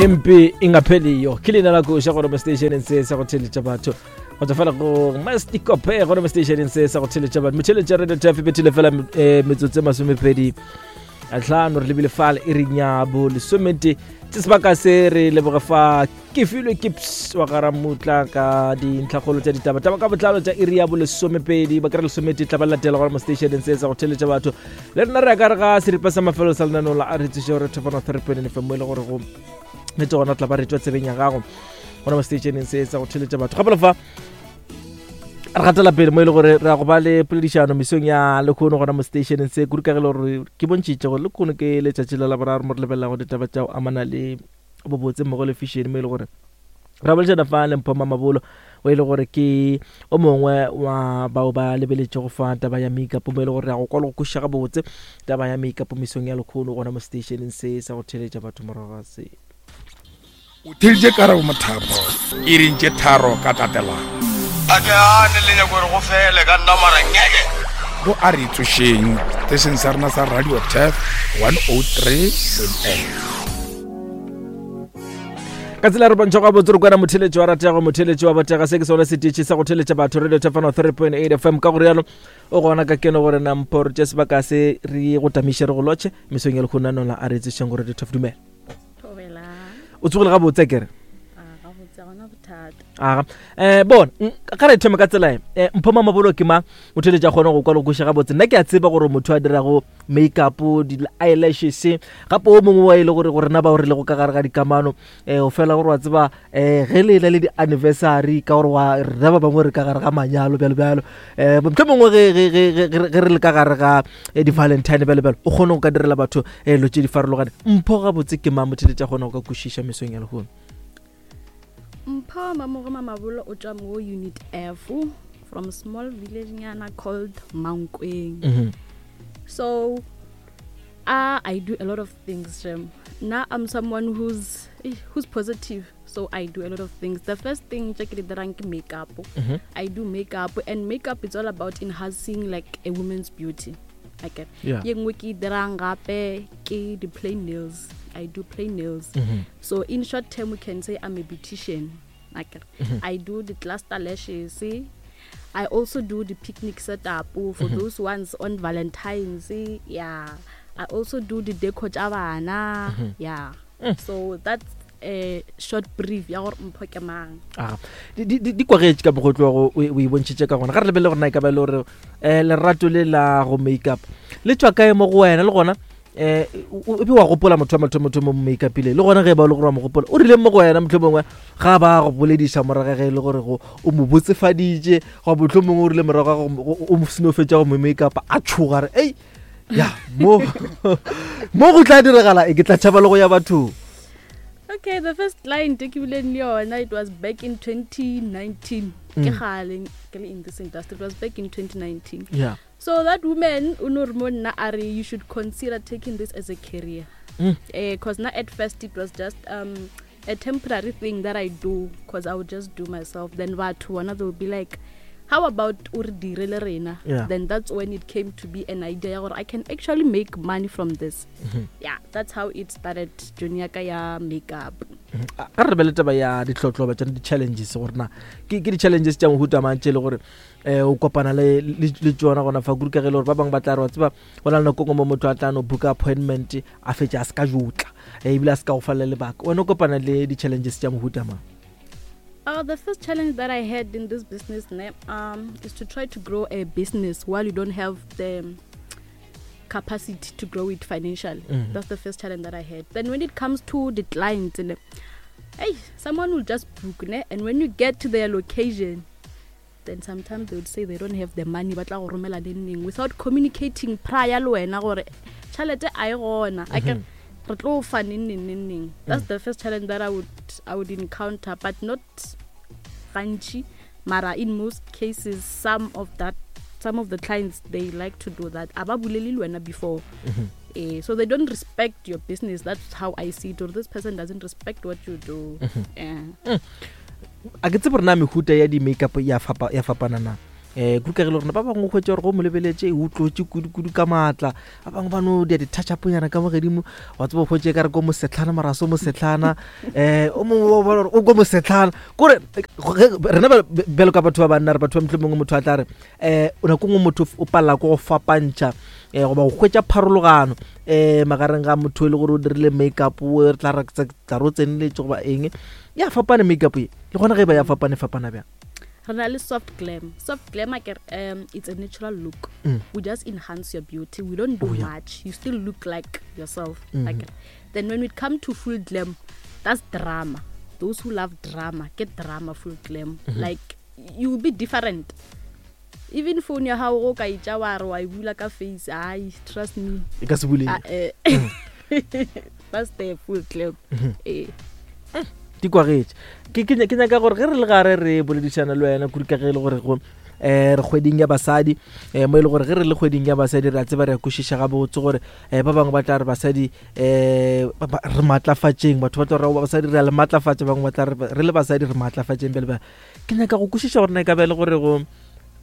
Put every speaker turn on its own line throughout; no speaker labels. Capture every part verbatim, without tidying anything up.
Impi ingapheliyo ke leina la koša gore mo stationeng se sa go theletša batho go tswa fela go mastikope gore mo stationeng se sa go theletša batho motheletša radio tf bethile fela eh, metsotso e masomepedi a tlhano re lebile fale e reng ya bo lesomete tse sebaka se re leboge fa ke filwe ke ps wa ga ramutla ka dintlhakgolo tša ditaba taba ka botlalo tša iri ya bo lesomepedi ba kry lesomete tla ba latela gore mo stationeng se sa go theletša batho le rena re ya ka re ga seripa sa mafelo sa lenaneo la a re tseše gore thefana three point fm mo e le gore go nete gona tla ba re tswa tsebeng ya gago gona mo stationeng se sa go theletša batho gape le fa re gatela pele mo e le gore re ya go ba le poledišano mesong ya lekgono gona mo stationeng se kudu ka ge le gore ke bontšhitše gore lekgono ke letšatši la laboraro mo re lebelelago ditaba tša go amana le bobotse mmogo le fashion mo e le gore ra boledišana fa le Mpho Mamabolo o e le gore ke o mongwe wa bao ba lebeletšego fa taba ya makeup mo e le gore re ya go kwa le go kwešiša gabotse taba ya makeup mesong ya lekgono gona mo stationeng se sa go theletša batho morago ga se.
O theeditše Karabo Mothapo iring tše tharo ka tatelano.
A ke gane le nyako gore go fele ka nna mara ngeke.
Go a re tsošeng setešeng sa rena sa Radio Turf one oh three point eight.
Ka tsela re bontšha gabotse re kwana motheletši wa ratego motheletši wa botega se ke sone setetši sa go theletša batho Radio Turf one oh three point eight F M ka go rialo o gona ka keno gore na mpho re tše sebaka se re go tamiše re go lotšhe mesong ya lekgono nola a re tsošeng go Radio Turf. Dumela.
Thobela.
O tsogile gabotse kere?
A gabotse gona bothata.
Aga. Eh bona, ga re thome ka tsela e. Eh, Mpho Mamabolo ke mang? Motheletši a kgone go kwa le go kweša gabotse. Nna ke a tseba gore motho a dirago makeup, di-eyelashes, gape o mongwe wa e le gore gore rena bao re lego ka gare ga dikamano, eh, o fela gore wa tseba, eh, ge le na le di-anniversary, ka gore wa rena ba bangwe re ka gare ga manyalo, bjalo bjalo. Eh, mohlomongwe ge, ge, ge, ge, ge, ge re le ka gare ga, eh, di-Valentine, bjalo bjalo, o kgone go ka direla batho, eh, dilo tše di farologane. Mpho gabotse ke mang? Motheletši a kgone go ka kwešiša mesong ya lehono.
Mpho Mamoro Mamabolo o tšwa mo Unit F from a small village nyana called Mankweng.
Mm-hmm.
So uh, I do a lot of things, Shem. Now I'm someone who's, eh, who's positive, so I do a lot of things. The first thing tše ke di dirang ke makeup.
Mm-hmm.
I do makeup, and makeup is all about enhancing like a woman's beauty. Okay.
Yeah.
Ye nngwe ke e dirang gape ke di plain nails. I do plain nails.
Mm-hmm.
So in short term, we can say I'm a beautician. Okay.
Mm-hmm.
I do the cluster lashes. I also do the picnic setup for
Mm-hmm.
those ones on Valentine's. Yeah. I also do the deco tša bana.
Mm-hmm.
Yeah.
Mm.
So that's a short brief ya gore Mpho ke mang.
Aga. Di, di, di, di kwagetše ka mokgwa o tlogo o, o e bontšhitše ka gona. Ga re lebelele gore na e ka ba e le gore, eh, lerato le la go makeup le tšwa kae mo go wena, le gona, eh, o, o, e be wa gopola motho wa mathomo-thomo mo make-upile, le gona ge e ba o le gore wa mo gopola, o rileng mo go wena mohlomongwe ga ba go bolediša morago ge e le gore go, o mo botsefaditše, goba mohlomongwe o rile morago ga go mo, o, o seno fetša go mo make-up a tšhoga re, ei, ya, mo, mo go tla diragala e ke tla tšhaba le go ya bathong.
Okay, the first client ke bileng le yona, it was back in twenty nineteen. Ke
Mm.
kgale ke le in this industry, it was back in twenty nineteen.
Yeah.
So that woman o no re mo nna a re, you should consider taking this as a career.
Mm.
Eh, 'cause na at first it was just, um, a temporary thing that I do, 'cause I would just do myself. Then batho bona they would be like, how about o re dire le rena?
Yeah.
Then that's when it came to be an idea gore I can actually make money from this.
Mm-hmm.
Yeah, that's how it started, journey ya ka ya makeup.
Mm-hmm. Ga re lebelele taba ya ditlhotlhoba tša di-challenges gore na ke, ke di-challenges tša mohuta mang tše e le gore, eh, o kopana le, le, le tšona gona fa kudu ka ge e le gore ba bangwe ba tla re wa tseba go na le nako e nngwe mo motho a tla no booka appointment a fetše a se ka jotla, eh, ebile a se ka go fa le lebaka. Wena o kopana le di-challenges tša mohuta mang?
Uh, the first challenge that I had in this business, ne, um, is to try to grow a business while you don't have the capacity to grow it financially.
Mm-hmm.
That's the first challenge that I had. Then when it comes to the clients, ne, hey, someone will just book, ne, and when you get to their location, then sometimes they would say they don't have the money, ba tla go romela neng neng, without communicating prior le wena gore tšhelete a e gona. A ke re tlo fa neng neng neng neng. That's
Mm.
the first challenge that I would, I would encounter, but not gantši, mara in most cases some of that, some of the clients, they like to do that. A ba bolele le wena before.
Mm-hmm.
Eh, so they don't respect your business. That's how I see it. Or this person doesn't respect what you do.
Mm-hmm.
Yeah.
Mm. A ke tsebe gore na mehuta ya di-makeup ya fapa-, ya fapana na? um kudu ka ge le rona ba bangwe kgwetsa gore go mo lebeletse o tlotse kudu-kudu ka maatla, ba bangwe ba no dia di-touch upnyana ka mo gedimo, wa tseba kgwetse ka re ko mosetlhana mara se mosetlhana, um o mongwe o bona gore o ko mosetlhana. Kore rena bjalo ka batho ba banna, re batho ba motlho mongwe motho a tla re um nako nngwe motho o palela ko go fapantšha um goba go hwetša pharologano um magareng ga motho e le gore o dirile makeup o re tla re tla re o tseneletse goba eng. Ya fapane makeup ye le gona ge e ba ya fapane, fapana bjang?
Re na le soft glam. Soft glam akere, um it's a natural look.
Mm.
We just enhance your beauty, we don't do
Oh, yeah.
much, you still look like yourself.
Mhm.
Akere. Then when we come to full glam, that's drama. Those who love drama get drama full glam.
Mhm.
Like you will be different. Even phone ya gago o ka itša wa re wa e bula ka face, ai, trust me,
e ka se buleng.
Ah, eh. That's the full glam.
Mhm.
Eh.
Di kwagetše. Ke ke ke nyaka gore ge re le gare re boledišana le wena kudu ka ge e le gore go um re kgweding ya basadi, um mo e le gore ge re le kgweding ya basadi re a tseba, re a kwešiša gabotse gore um ba bangwe ba tla re basadi um re maatlafatšeng, batho ba tla re basadi re a le maatlafatša, bangwe ba tla re re le basadi re maatlafatšeng. Bjale bjale ke nyaka go kwešiša gore na e ka ba e le gore go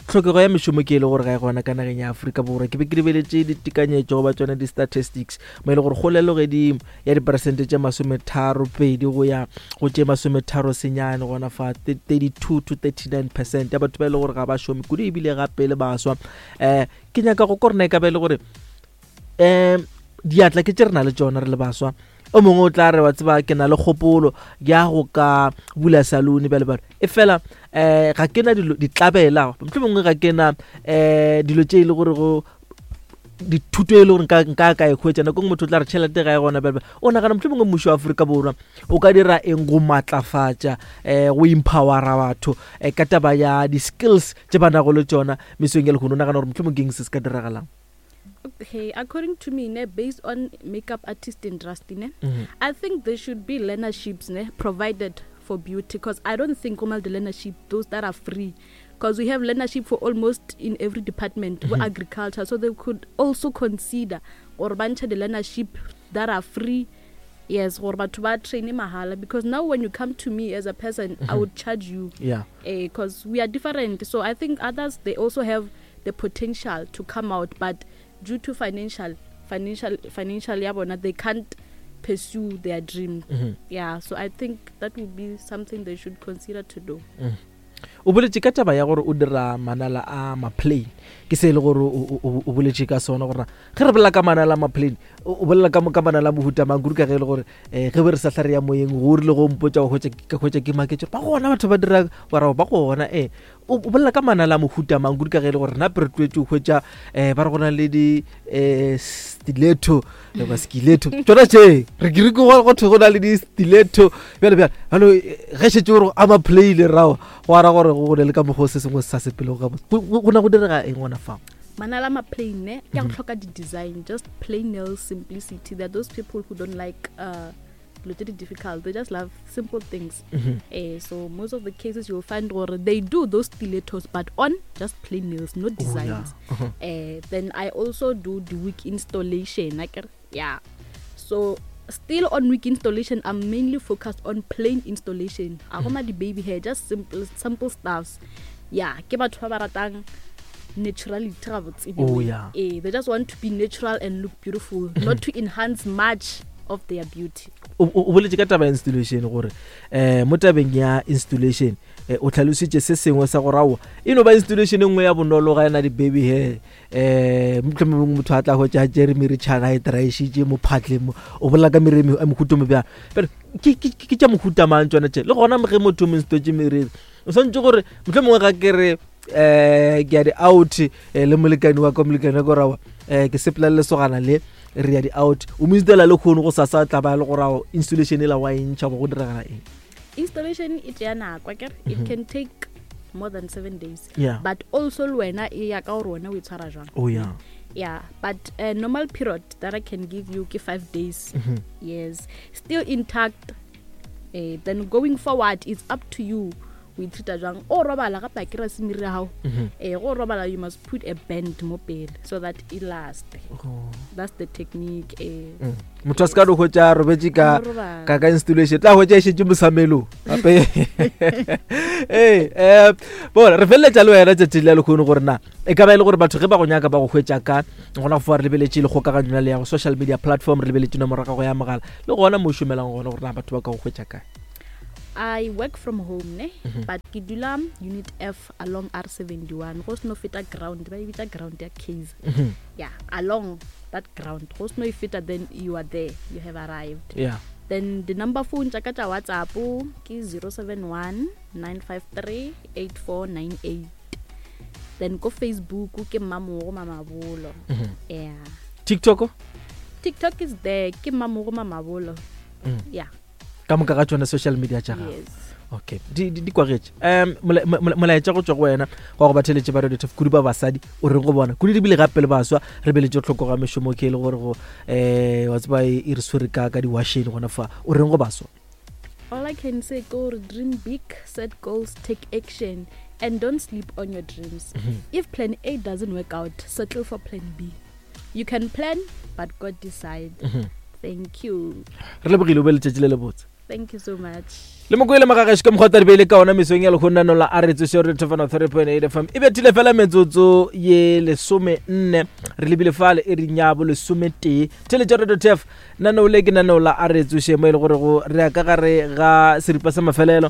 tlhokego ya mešomo ke e le gore ga e gona ka nageng ya Afrika Borwa. Ke be ke lebeletše ditekanyetšo goba tsone di-statistics mo e le gore kgolelo godimo ya diperesente tše masometharo pedi go ya go tše masometharo senyane gona fa thirty-two to thirty-nine percent ya batho ba e le gore ga ba šome kudu ebile gape le baswa. Um ke nyaka go ko rena e ka ba e le gore um diatla ke tše re na le tšona re le baswa. O mongwe o tla re wa tseba ke na le kgopolo ya go ka bula salone bjale bjale, e fela um ga ke na dilo ditlabela, mohlomongwe ga ke na um dilo tše e le gore go dithuto e le gore nka nka ka e hwetša. Nako nngwe motho o tla re tšhelete ga e gona bjale bjale. O nagana mohlomongwe mmušo wa Afrika Borwa o ka dira eng go maatlafatša um go empowera batho um ka taba ya di-skills tše ba nago le tšona mesong ya lehono? O nagana gore mohlomongwe ke eng se se ka diragalang?
Okay, according to me, ne, based on makeup artist industry, ne,
Mhm.
I think there should be learnerships, ne, provided for beauty, because I don't think normal the learnership, those that are free, because we have learnership for almost in every department, mm
Mhm.
agriculture, so they could also consider or bunch the learnership that are free. Yes, or batho ba train mahala, because now when you come to me as a person, I
Mhm.
would charge you,
yeah
because we are different. So I think others, they also have the potential to come out, but due to financial, financial, financial ya bona, they can't pursue their dream.
Mhm.
Yeah, so I think that would be something they should consider to do.
O boletše ka taba ya gore o dira manala a maplane, ke se e le gore o- o o boletše ka sona gore ge re bolela ka manala a maplane o o bolela ka ka manala a mohuta mang kudu ka ge e le gore um ge be re sa hla re ya moyeng go rile go mpotša go hwetša ka hwetša ke maketše ba gona batho ba dira warao ba gona. Ee, o o bolela ka manala a mohuta mang kudu ka ge e le gore rena pe re tlwaetše go hwetša um ba re go na le di um stiletto goba skiletto tsona tše re ke re ke go thwe go na le di stiletto bjale bjale bjalo ge šetše gore a maplane rao go ara gore go ne le ka mokgwa o se sengwe se sa sepelego gabotse. Go- go go na go direga eng gona fao?
Manala ma plain ne, ke a go
Mhm.
hloka di-design, just plain nails, simplicity. There are those people who don't like uh dilo tse di difficult, they just love simple things.
Mhm.
Eh, so most of the cases you'll find gore they do those stilettos but on just plain nails, no
Oh, yeah.
designs.
Uh-huh.
Eh, then I also do the wig installation, akere? Yeah, so still on wig installation, I'm mainly focused on plain installation. A go ma di-baby hair, just simple, simple stuffs. Yeah, ke batho ba ba ratang naturality gabotse in a
Oh,
way.
yeah.
Eh, they just want to be natural and look beautiful, not to enhance much of their beauty.
O o- o boletše ka taba ya installation gore um mo tabeng ya installation eh, o tlhalositše se sengwe sa gore aowa e no ba installation e nngwe ya bonolo ga ena di-baby hair, um mohlomongwe motho a tla hwetša a tšere meritšhana a e traišitše mo phatleng mo, o bolela ka meriri e mohuta o mobjang. Bjale ke ke- ke tša mohuta mang tsona tše? Le gona ge motho o mo installetse meriri o swantse gore mohlomongwe ga ke re um ke ya di-out eh, le molekane wa ka, molekane wa ka gore aowa um ke sepela le lesogana le re ya di-out, o mo installa le kgono go sasa tla ba le gore ao installation e la wa e ntšha goba go diragala eng?
Installation e tšea nako akere, it
Mhm.
can take more than seven days,
Yeah.
but also le wena e ya ka gore wena o e tshwara jwang.
Oh yeah.
Yeah, but a normal period that I can give you ke five days.
Mhm.
Yes, still intact. Uh, then going forward, it's up to you O e treata jwang? O robala gape a kry-a se meriri ya gago. Ee, go robala you must put a band mo pele so that e last. That's the technique. Eh.
Motho a se ka no hwetša a robetše ka
No robala.
ka ka installation tla hwetša e šetše mosamelong gape. Ee, um bona re feleletša le wena tšatši le lekgono gore na e ka ba e le gore batho ge ba go nyaka ba go hwetša ka gona go foa re lebeletše le kgokaganyo ya le ya go social media platform, re lebeletše nomoro ya gago ya mogala le gona mo o šomelang gona gore na batho ba ka go hwetša kae.
I work from home ne, but ke dula unit F along R seventy-one. Go seno feta ground, ba e bitša ground ya Kaizer. Yeah, along that ground. Go seno e feta, then you are there, you have arrived.
Yeah.
Then the number phone tša ka tša WhatsApp ke zero seven one, nine five three, eight four nine eight. Then ko Facebook ke Mmamogo Mamabolo. Yeah.
TikTok?
TikTok is there, ke Mmamogo Mamabolo. Yeah.
Ka moka ga tšona social media tša gago.
Yes.
Okay, di di di kwagetše. Um molaetša go tšwa go wena wa go ba theletše ba Radio Turf kudu ba basadi o reng go bona kudu di bile gape le baswa re beletše tlhoko ga mešomo ke e le gore go eh wa tseba e e re swere ka ka diwasheng gona fa o reng go baswa?
All I can say ke gore dream big, set goals, take action and don't sleep on your dreams. If plan A doesn't work out, settle for plan B. You can plan but God decide. Thank you.
Re lebogile o be letšatši le lebotse.
Thank you so much.
Le mokwele magagešo ka mokgwa taribeile ka ona mesong ya lekgonnano la a re tsoše re thofana three point eight F M. E bethile fela metsotso ye lesome nne re lebile fale e re nyabo lesome tee. Theletša Radio Turf naneo le ke naneo la a re tsoše mo e le gore go re ya ka gare ga seripa sa mafelelo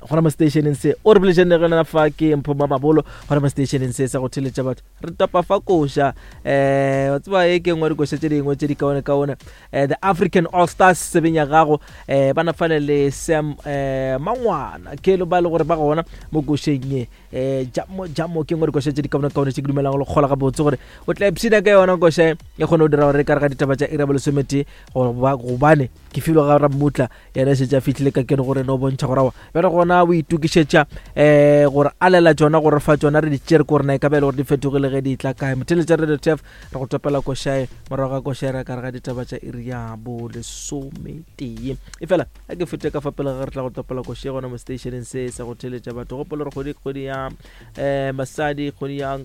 gona mo stationeng se o re boletšeng le gona fa ke Mpho Mamabolo gona mo stationeng se sa go theletša batho re topa fa koša eh wa tseba e ke nngwe dikoša tše dingwe tše di kaone kaone eh the African All Stars sebeng ya gago eh ba nafale le Sam eh Mangwana ke lo ba le gore ba gona mo košeng ye eh jamo jamo ke nngwe dikoša tše di kaone kaone tše ke dumelang go le kgola gabotse gore o tla ipshina ka yona koša e kgone go dira gore ka re ga ditaba tša iri ya bolesometee gobane ke filwe ga Rammutla yena šetše a fihlile ka kene gore no bontšha gore aowa bjale gona o itokišetša um gore a lela tšona gore fa tšona re di tšere ko rena e ka ba e le gore di fetogile ge di tla kae. Motheletša Radio Turf re go topela košae morago ga košae re ka re ga ditaba tša iri ya bolesometee. E fela a ke fete ka fa pele ga re tla go topela košae gona mo stationeng se sa go theletša batho. Gopola gore kgwedi kgwedi ya um basadi kgwedi ya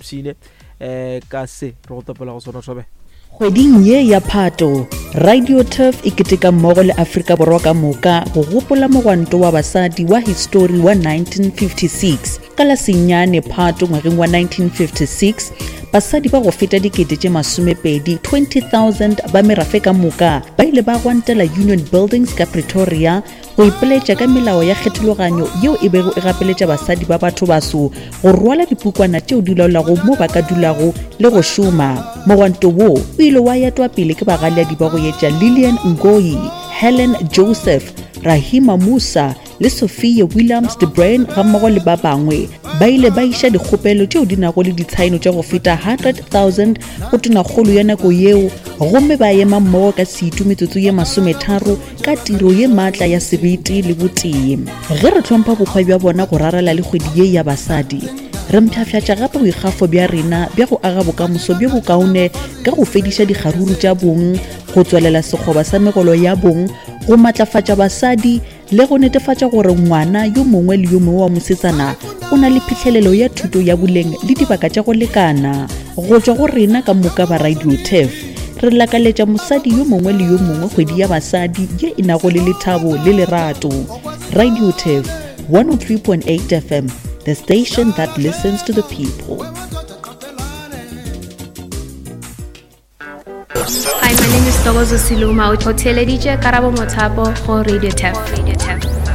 pshine um ka se re go topela go sona thobe.
Kgweding ye ya Phato, Radio Turf e keteka mmogo le Afrika Borwa ka moka go gopola mogwanto wa basadi wa histori wa nineteen fifty-six. Ka la senyane Phato ngwageng wa nineteen fifty-six, basadi ba go feta dikete tše masomepedi twenty thousand ba merafe ka moka ba ile ba gwantela Union Buildings ka Pretoria go ipeletša ka melao ya kgethologanyo yeo e bego e gapeletša basadi ba batho baso go rwala dipukwana tšeo di laolago mo ba ka dulago le go šoma. Mogwanto wo o ile wa etwa pele ke bagaleadi ba go etša Lillian Ngoyi, Helen Joseph, Rahima Musa le Sophia Williams de Bruyn gammogo le ba bangwe. Ba ile ba iša dikgopelo tšeo di nago le ditshaeno tša go feta hundred thousand go tonakgolo ya nako yeo gomme ba ema mmogo ka setu metsotso ye masometharo ka tiro ye maatla ya sebete le botee. Ge re hlompha bokgwa bja bona go rarela le kgwedi ye ya basadi, re mpshafšatša gape boikgafo bja rena bja go aga bokamoso bjo bokaone ka go fediša dikgaruru tša bong, go tswelela sekgoba sa megolo ya bong, go matlafatša basadi le go netefatša gore ngwana yo mongwe le yo mongwe wa mosetsana o na le phihlelelo ya thuto ya boleng le dibaka tša go lekana. Go tšwa go rena ka moka ba Radio Turf, re lakaletša mosadi yo mongwe le yo mongwe kgwedi ya basadi ye e nago le lethabo le lerato. Radio Turf one oh three point eight F M, the station that listens to the people.
Hi, my name is Togozo Siluma. O theeleditše Karabo Mothapo go Radio Turf. Radio Turf.